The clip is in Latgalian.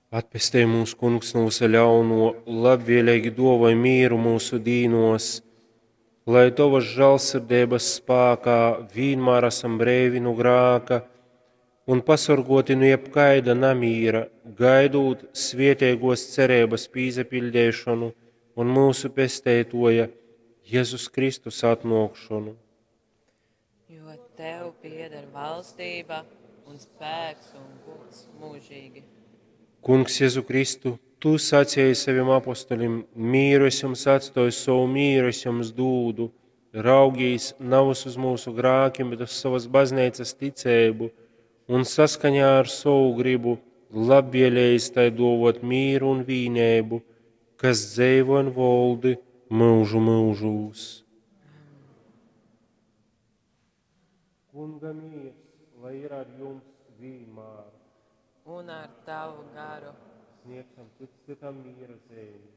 Atpestej mūs, Kungs, no visa ļauno, labvēlīgi duovoj mīru mūsu dīnos, lai Tovas žālsirdeibas spākā vienmēr esam breivi nu grāka un pasorgoti nu jebkaida namīra, gaidūt svietēgos cerības pīsapildīšanu un mūsu pesteitoja Jēzus Kristus atnākšanu. Jo tev pieder valstība un spēks un gods mūžīgi. Kungs Jēzu Kristu, Tu sacīji saviem apostolim, mīru es jums atstoju, savu mīru es jums dūdu. Raugīs navas uz mūsu grākiem, bet uz savas baznīcas ticēbu un saskaņā ar savu gribu labvēlējis tai dovot mīru un vīnēbu, kas dzeivo un voldi mūžu mūžūs. Kunga miers, lai ir ar jums vienmēr. Un ar tavu garu. Sniegsim cits citam miera zīmi.